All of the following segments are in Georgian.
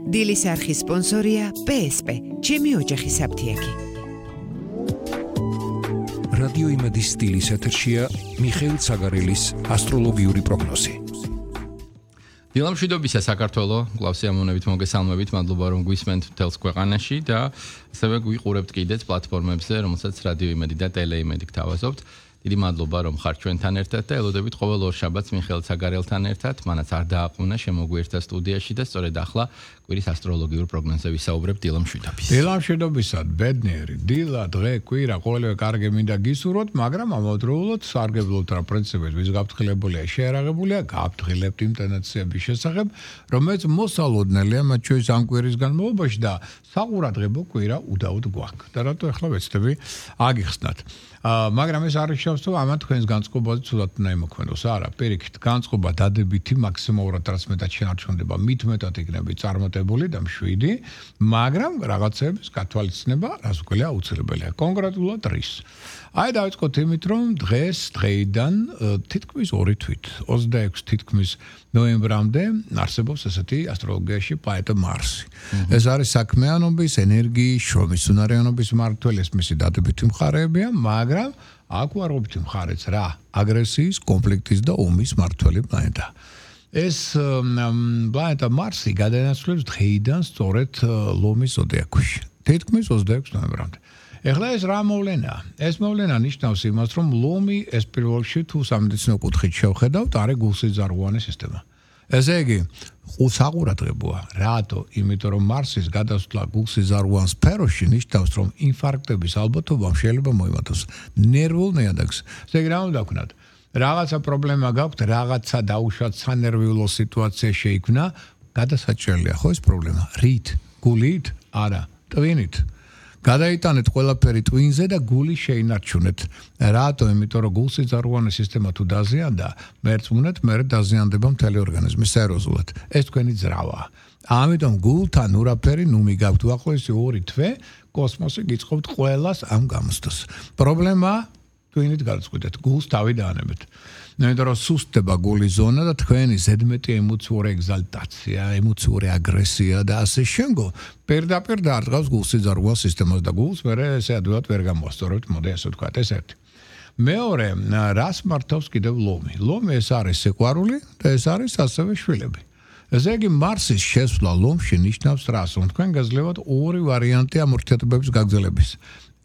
დილის არხის სპონსორია PSP, ჩემი ოჯახი საფთიაგი. რადიო იმედის სტილის ეთერშია მიხეილ ცაგარელის ასტროლოგიური პროგნოზი. დილამშვიდობისა საქართველო, გლავსიამონებით მოგესალმებით, მადლობა რომ გვისმენთ მთელს ქვეყანაში და ასევე გვიყურებთ კიდეც პლატფორმებზე, რომელსაც რადიო იმედი და ტელე იმედი გთავაზობთ. დიდი მადლობა რომ ხართ ჩვენთან ერთად და ელოდებით ყოველ ორ შაბათს მიხეილ ცაგარელთან ერთად, მანაც არ დააყუნა შემოგვიერთდა სტუდიაში და სწორედ ახლა კვირის ასტროლოგიურ პროგნოზზე ვისაუბრებთ დილამშვიდობის. დილამშვიდობისა, ბედნიერი, დილა, დღე, კვირა, ყოველივე კარგი მინდა გისურვოთ, მაგრამ ამავდროულად სარგებლობთ რა პრინციპებით, ვის გაფრთხილებულია, შეერაღებულია, გაფრთხილებთ იმ ტენდენციების შესახებ, რომელიც მოსალოდნელია მათ შორის ამ კვირის განმავლობაში და საყურადღებო კვირა უდაოდ გვაქვს. და რატო ახლა ვეცდები აგიხსნათ. მაგრამ ეს არ ნიშნავს, რომ ამან თქვენს განწყობაზე ცუდად უნდა იმოქმედოს. არა, პირიქით, განწყობა დადებითი მაქსიმალურად რაც მეტად შეარჩუნდება, მით მეტად იქნება წარმატებული და მშვიდი, მაგრამ რაღაცების გათვალისწინება რას ვქველია აუცილებელია. კონკრეტულად რის. აი დავიწყოთ იმით, რომ დღეიდან თითქმის 2 თვით, 26 თითქმის ნოემბრამდე არსებობს ესეთი ასტროლოგიაში პლანეტა მარსი. ეს არის საქმიანობის, ენერგიის, შრომის უნარიანობის მმართველი, ეს მისი დადებითი მხარეებია, მაგრამ აქ ვარყოფით მხარეც რა, აგრესიის, კონფლიქტის და ომის მმართველი პლანეტა. ეს პლანეტა მარსი გადაინაცვლებს დღეიდან სწორედ ლომის ზოდიაქოში. თითქმის 26 ნოემბრამდე. ეხლა ეს რა მოვლენაა? ეს მოვლენა ნიშნავს იმას, რომ ლომი ეს პირველ რიგში თუ სამედიცინო კუთხით შევხედავთ, არის გულსიძარღვოვანი სისტემა. ესე იგი, საყურადღებოა. რატო? იმიტომ რომ მარსის გადასვლა გულსიძარღვოვან სფეროში ნიშნავს, რომ ინფარქტების ალბათობა შეიძლება მოიმატოს ნერვულ ნიადაგს. ესე იგი, რა უნდა ვქნათ? რაღაცა პრობლემა გაქვთ, რაღაცა დაუშვათ სანერვიულო სიტუაცია შეიქმნა, გადასაჭრელია ხო ეს პრობლემა? რით? გულით? არა, ტვინით. გადაიტანეთ ყველაფერი ტვინზე და გული შეინარჩუნეთ. რატო? იმიტომ რომ გულსიძარღვოვანი სისტემა თუ დაზიანდა, მერწმუნეთ, მერე დაზიანდება მთელი ორგანიზმი სერიოზულად. ეს თქვენი ძრავაა. ამიტომ გულთან ურაფერი ნუმი გაქვთ უახლოესი 2 თვე, კოსმოსი გიწყობთ ყველას ამ გამოსდას. პრობლემა ტვინით გადაწყვეტეთ, გულს თავი დაანებეთ. იმიტომ რომ სუსტდება გულის ზონა და თქვენი ზედმეტი ემოციური ეგზალტაცია, ემოციური აგრესია და ასე შემდგომ პირდაპირ დაარღვევს გულსიძარღვოვან სისტემას და გულს მერე ესე ადვილად ვერ გამოასწორებთ, მოდი ასე ვთქვათ, ეს ერთი. მეორე, რას მართავს კიდევ ლომი? ლომი ეს არის სიყვარული და ეს არის ასევე შვილები. ესე იგი, მარსის შესვლა ლომში ნიშნავს რას? რომ თქვენ გაძლევათ 2 ვარიანტი ამ ურთიერთობების გაგრძელების.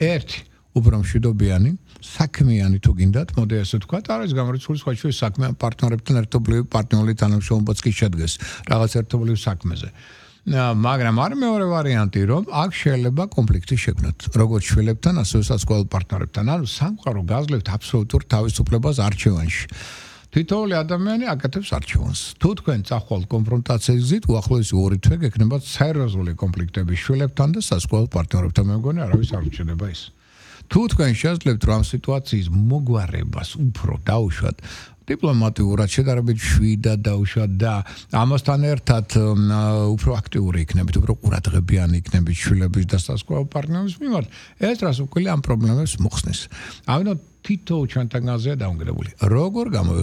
ერთი უფრო მშვიდობიანი, საქმიანი თუ გინდათ, მოდი ასე ვთქვათ, არის გამორიცხული სხვა შვილის საქმიან პარტნიორებთან ერთობლივი პარტნიორული თანამშრომლობაც კი შედგეს რაღაც ერთობლივ საქმეზე. მაგრამ არის მეორე ვარიანტი, რომ აქ შეიძლება კონფლიქტი შექმნათ, როგორც შვილებთან, ასევე სასწავლო პარტნიორებთან. ანუ სამყარო გაძლევთ აბსოლუტურ თავისუფლებას არჩევანში. თითოეული ადამიანი აკეთებს არჩევანს. თუ თქვენ წახვალთ კონფრონტაციის გზით, უახლოესი 2 თვე გექნებათ სერიოზული კონფლიქტები შვილებთან და სასწავლო პარტნიორებთან. მე მგონი არავის არ ურჩედება ის. თუ თქვენ შეძლებთ რომ სიტუაციის მოგვარებას უფრო დაუშვათ, დიპლომატიურად შედარებით შვიდად დაუშვათ და ამასთან ერთად უფრო აქტიური იქნებით, უფრო ყურადღებიანი იქნებით შვილების და სასწავლო პარტნიორების მიმართ, ეს რას უკვირია ამ პრობლემებს მოხსნის. ამიტომ თითო ჩვენთანგანზეა დაუნგრეული. როგორ გამოვიღეთ